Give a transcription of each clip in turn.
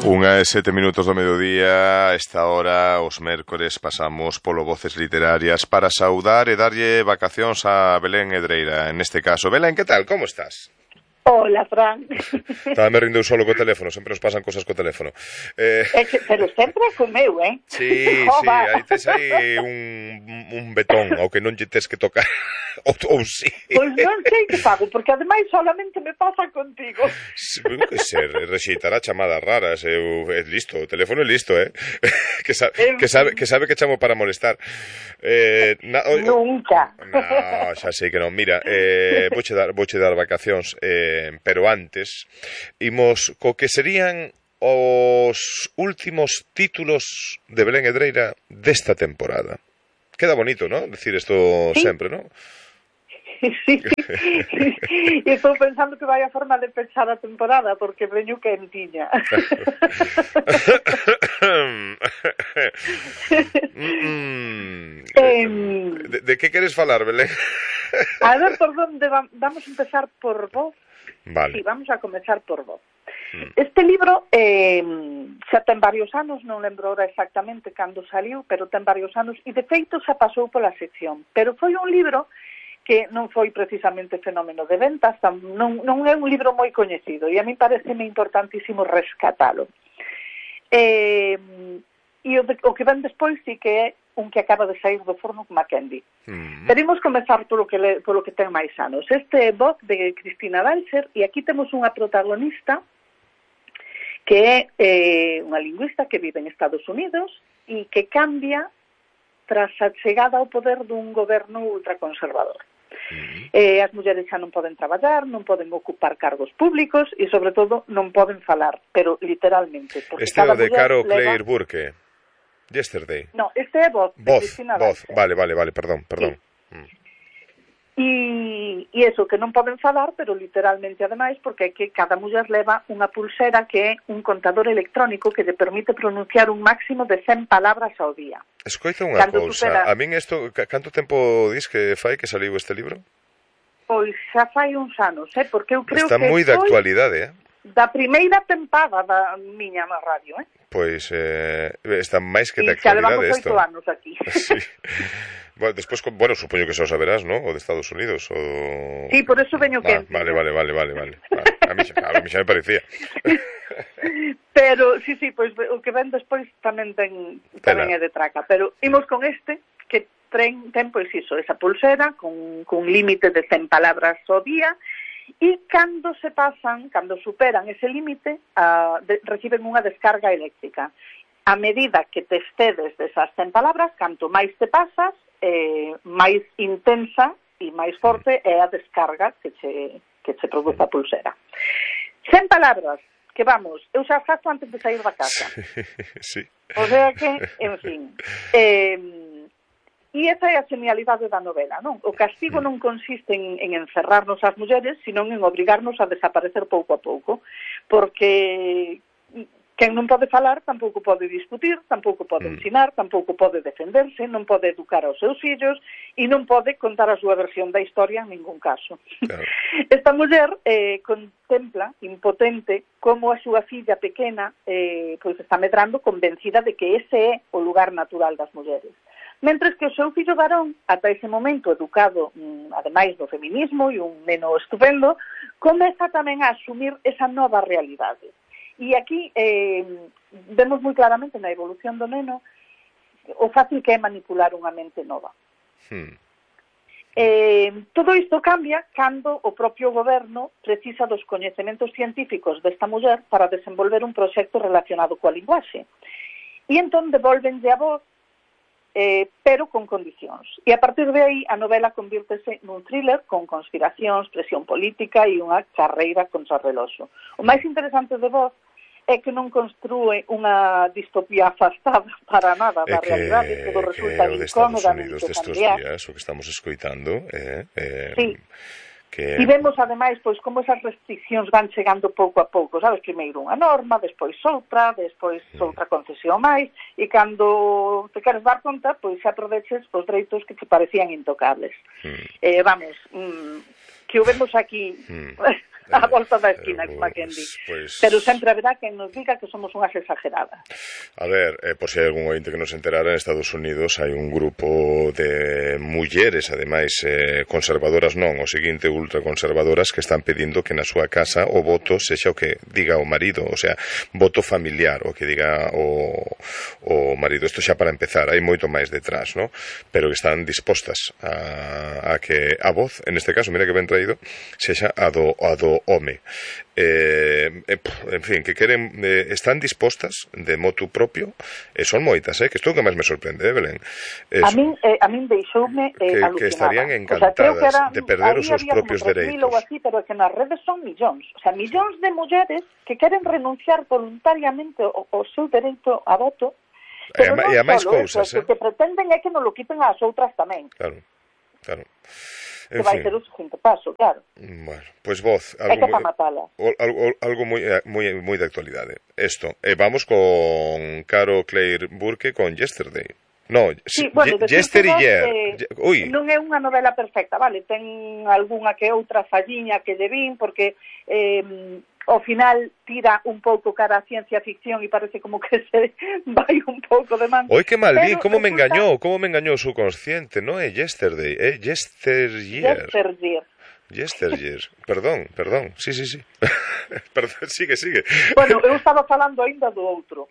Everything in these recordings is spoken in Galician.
1:07 do mediodía. A esta hora, os mércores, pasamos polo Voces Literarias para saudar e darlle vacacións a Belén Hedreira. En este caso, Belén, que tal? Como estás? Hola, Fran. Estaba me rindo solo co teléfono, sempre nos pasan cosas co teléfono. Pero sempre comeu, Sí, sí, aí tes aí un betón ao que non lle tes que tocar. ou sí. Pois non sei que fago, porque ademais solamente me pasa contigo. Que ser, rexeitará chamadas raras, é listo, o teléfono é listo, que sabe que chamo para molestar. Nunca. No, xa sei que non. Mira, vouche dar vacacións, pero antes imos co que serían os últimos títulos de Belén Hedreira desta temporada. Queda bonito, ¿no? Decir isto ¿Sí? sempre, ¿no? Sí. E estou pensando que vai a forma de pechar a temporada, porque veño quentiña. De que queres falar, Belén? A ver, por onde vamos a empezar por vos. Vale. Sí, vamos a comezar por vos. Este libro xa ten varios anos, non lembro ahora exactamente cando saliu, pero ten varios anos, e de feito xa pasou pola sección. Pero foi un libro que non foi precisamente fenómeno de ventas, non é un libro moi coñecido, e a mí pareceme importantísimo rescatalo. E o que ven despois sí que é un que acaba de sair do forno con Mackenzie. Pero imos comezar polo que ten máis anos. Este é Voz de Cristina Balcher, e aquí temos unha protagonista que é unha lingüista que vive en Estados Unidos e que cambia tras a chegada ao poder dun goberno ultraconservador. As mulleres xa non poden traballar, non poden ocupar cargos públicos e, sobre todo, non poden falar, pero literalmente. Este é o de Caro Claire Burke. Yesterday. No, este é Voz. Voz. Vale, perdón. E eso, que non poden falar, pero literalmente ademais, porque é que cada muller leva unha pulsera que é un contador electrónico que lle permite pronunciar un máximo de 100 palabras ao día. Escoita unha cousa, a min isto, canto tempo dis que fai que saliu este libro? Pois xa fai uns anos, porque eu creo está que moi de actualidade, da primeira tempada da miña na radio, Pois está máis que de actualidade isto. E xa levamos 8 anos aquí. Sí. Bueno, despois, supoño que xa o saberás, ¿no? O de Estados Unidos, o... Sí, por eso veño que... Vale. A mí xa me parecía. Pero, sí, pois o que ven despois tamén é de traca. Pero imos con este, que ten, pois iso, esa pulsera, con límite de 100 palabras ao día, e cando superan ese límite, reciben unha descarga eléctrica. A medida que te excedes desas 100 palabras, canto máis te pasas, máis intensa e máis forte é a descarga que che produce a pulsera. 100 palabras, que vamos, eu xa faço antes de sair da casa. Sí. O sea que, en fin... E esa é a genialidade da novela, non? O castigo non consiste en encerrarnos as mulleres, senón en obrigarnos a desaparecer pouco a pouco, porque quen non pode falar tampouco pode discutir, tampouco pode ensinar, tampouco pode defenderse, non pode educar aos seus fillos e non pode contar a súa versión da historia en ningún caso. Claro. Esta muller contempla, impotente, como a súa filla pequena pois está medrando, convencida de que ese é o lugar natural das mulleres. Mentres que o seu fillo varón, ata ese momento educado, ademais do feminismo e un neno estupendo, comeza tamén a asumir esa nova realidade. E aquí vemos moi claramente na evolución do neno o fácil que é manipular unha mente nova. Todo isto cambia cando o propio goberno precisa dos coñecementos científicos desta muller para desenvolver un proxecto relacionado coa linguaxe. E entón devolvenlle a voz, pero con condicións. E a partir de aí a novela convírtese nun thriller con conspiracións, presión política e unha carreira contra o reloxo. O máis interesante de Voz é que non construe unha distopía afastada para nada da realidade, todo resulta incómodamente familiar. O que estamos escoitando sí. E vemos, ademais, pois como esas restriccións van chegando pouco a pouco, sabes? Primeiro unha norma, despois outra concesión máis, e cando te queres dar conta, pois xa aproveches os dereitos que te parecían intocables. Vamos, que o vemos aquí a volta da esquina, como quen di. Pero sempre haberá quen nos diga que somos unhas exageradas. A ver, por si hai algún ointe que nos enterara, en Estados Unidos hai un grupo de mulleres, ademais, conservadoras non, o seguinte, ultraconservadoras, que están pedindo que na súa casa o voto sexa o que diga o marido, o sea, voto familiar, o que diga o marido. Isto xa para empezar, hai moito máis detrás, ¿no? Pero que están dispostas a que a voz, en este caso, mira que ben traído, sexa a do home. En fin, que queren, están dispostas de motu propio, son moitas, que isto é o que máis me sorprende, Belén. A min deixoume alucinada. Que estarían encantadas de perder os seus propios dereitos. Así, pero que nas redes son millóns, o sea, millóns de mulleres que queren renunciar voluntariamente ao seu dereito a voto. Pero e a máis cousas, o que pretenden é que nos lo quiten ás outras tamén. Claro. Que vai ser o seguinte paso, claro. Bueno, pois voz, algo para matala. Algo moi de actualidade. Esto, vamos con Caro Claire Burke con Yesterday. No, sí, bueno, Yesterday. Non é unha novela perfecta, vale, ten algunha que outra falliña que lle vin, porque ao final tira un pouco cara a ciencia ficción e parece como que se vai un pouco de man. Oi, que mal vi, como me engañou o subconsciente, non é Yesterday, é Yesteryear. Perdón, sí. Perdón, sigue. Bueno, eu estaba falando aínda do outro,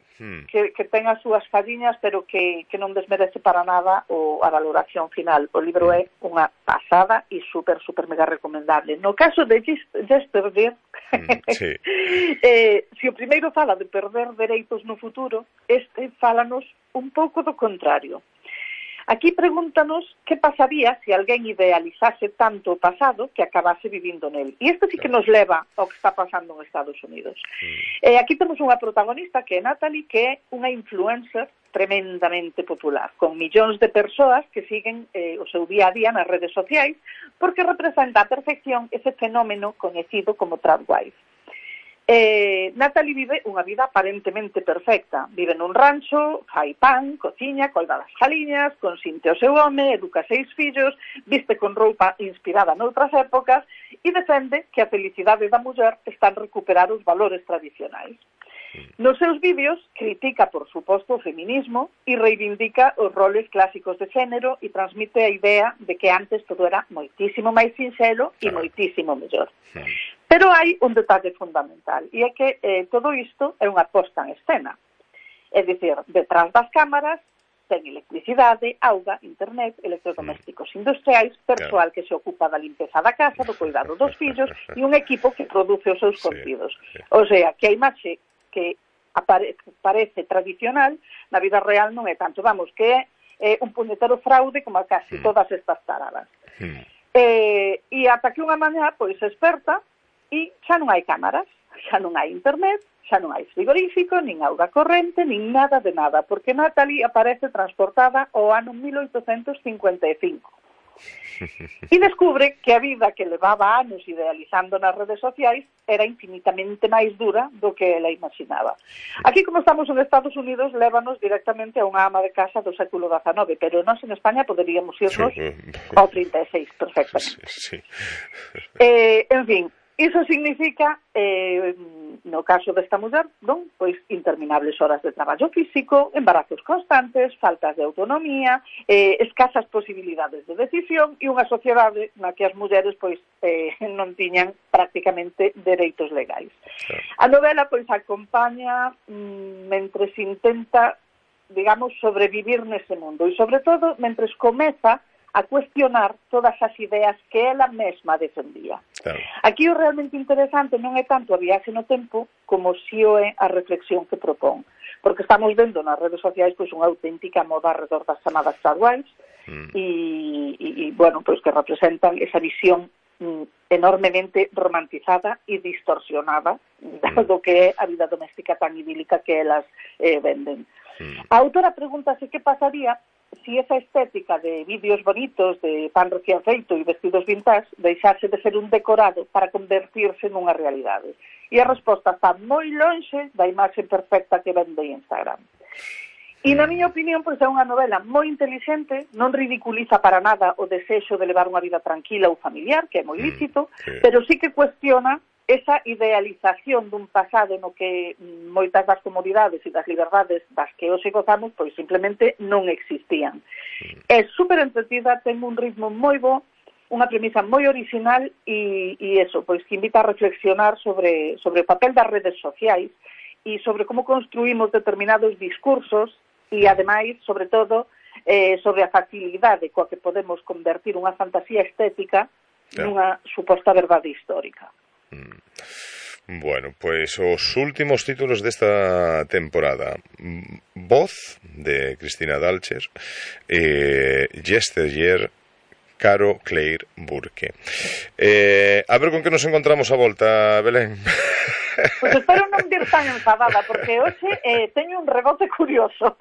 que ten as súas falliñas, pero que non desmerece para nada a valoración final. O libro é unha pasada e super mega recomendable. No caso de Yesterday, se o primeiro fala de perder dereitos no futuro, este fálanos un pouco do contrario. Aquí pregúntanos que pasaría se alguén idealizase tanto o pasado que acabase vivindo nel. E isto sí que nos leva ao que está pasando en Estados Unidos. Aquí temos unha protagonista que é Natalie, que é unha influencer tremendamente popular, con millóns de persoas que siguen o seu día a día nas redes sociais, porque representa a perfección ese fenómeno coñecido como tradwife. Natalie vive unha vida aparentemente perfecta. Vive nun rancho, fai pan, cociña, colga das galiñas, consinte o seu home, educa 6 fillos, viste con roupa inspirada noutras épocas e defende que a felicidade da muller está en recuperar os valores tradicionais. Nos seus vídeos critica, por suposto, o feminismo e reivindica os roles clásicos de xénero e transmite a idea de que antes todo era moitísimo máis sinxelo e moitísimo mellor. Pero hai un detalle fundamental, e é que todo isto é unha posta en escena. É dicir, detrás das cámaras ten electricidade, auga, internet, electrodomésticos industriais, persoal que se ocupa da limpeza da casa, do cuidado dos fillos e un equipo que produce os seus contidos. O sea, que a imaxe que parece tradicional, na vida real non é tanto. Vamos, que é un puñetero fraude como a casi todas estas taradas. E ata que unha mañá, pois, se esperta e xa non hai cámaras, xa non hai internet, xa non hai frigorífico, nin auga corrente, nin nada de nada, porque Natalie aparece transportada ao ano 1855. E descubre que a vida que levaba anos idealizando nas redes sociais era infinitamente máis dura do que ela imaginaba. Aquí, como estamos en Estados Unidos, lévanos directamente a unha ama de casa do século XIX, pero nós en España poderíamos irnos ao 36 perfectamente. En fin, iso significa, no caso desta muller, non? Pois interminables horas de traballo físico, embarazos constantes, faltas de autonomía, escasas posibilidades de decisión e unha sociedade na que as mulleres pois non tiñan prácticamente dereitos legais. A novela pois acompaña mentre se intenta, digamos, sobrevivir nese mundo e sobre todo mentre comeza a cuestionar todas as ideas que ela mesma defendía. Claro. Aquí o realmente interesante non é tanto a viaxe no tempo como si o é a reflexión que propón. Porque estamos vendo nas redes sociais pois unha auténtica moda alrededor das chamadas tradwives e bueno, pois que representan esa visión enormemente romantizada e distorsionada do que é a vida doméstica tan idílica que elas venden. A autora pregúntase que pasaría si esa estética de vídeos bonitos, de pan recién feito e vestidos vintage deixase de ser un decorado para convertirse nunha realidade. E a resposta está moi lonxe da imaxe perfecta que vende Instagram. E na miña opinión, pois é unha novela moi intelixente, non ridiculiza para nada o desexo de levar unha vida tranquila ou familiar, que é moi lícito, pero sí que cuestiona esa idealización dun pasado no que moitas das comodidades e das liberdades das que hoxe gozamos pois simplemente non existían. É super entretida, ten un ritmo moi bo, unha premisa moi original e eso, pois que invita a reflexionar sobre o papel das redes sociais e sobre como construímos determinados discursos e, ademais, sobre todo, sobre a facilidade coa que podemos convertir unha fantasía estética nunha suposta verdade histórica. Bueno, pues os últimos títulos desta temporada: Voz, de Cristina Dalcher, Yesteryear, Caro Claire Burke. A ver con que nos encontramos a volta, Belén. Pois espero non vir tan enfadada, porque hoxe teño un rebote curioso.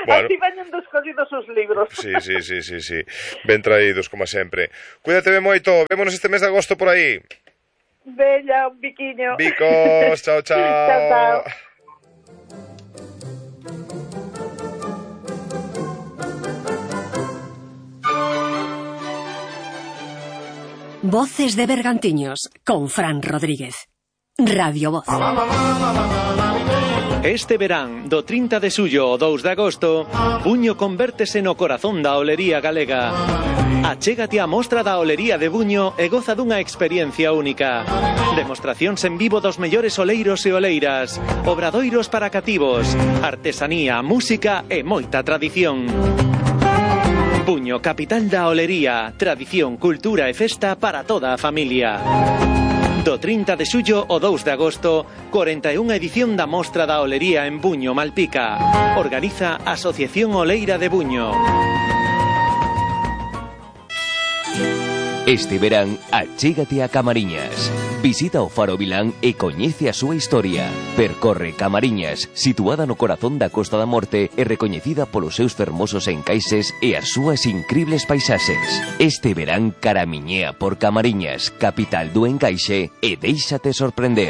Bueno, así veñen descollidos os libros. Sí. Ben traídos, como sempre. Cuídate ben moito, vémonos este mes de agosto por aí. Bella, un biquiño. Bicos, chao. Chao. Voces de Bergantiños, con Fran Rodríguez. Radio Voz. Este verán, do 30 de xullo ao 2 de agosto, Buño convértese no corazón da olería galega. Achégate á mostra da olería de Buño e goza dunha experiencia única. Demostracións en vivo dos mellores oleiros e oleiras, obradoiros para cativos, artesanía, música e moita tradición. Buño, capital da olería, tradición, cultura e festa para toda a familia. Do 30 de xullo ao 2 de agosto, 41ª edición da Mostra da Olería en Buño, Malpica. Organiza Asociación Oleira de Buño. Este verán, achégate a Camariñas. Visita o Faro Vilán e coñece a súa historia. Percorre Camariñas, situada no corazón da Costa da Morte e recoñecida polos seus fermosos encaixes e as súas incribles paisaxes. Este verán caramiñea por Camariñas, capital do encaixe, e déixate sorprender.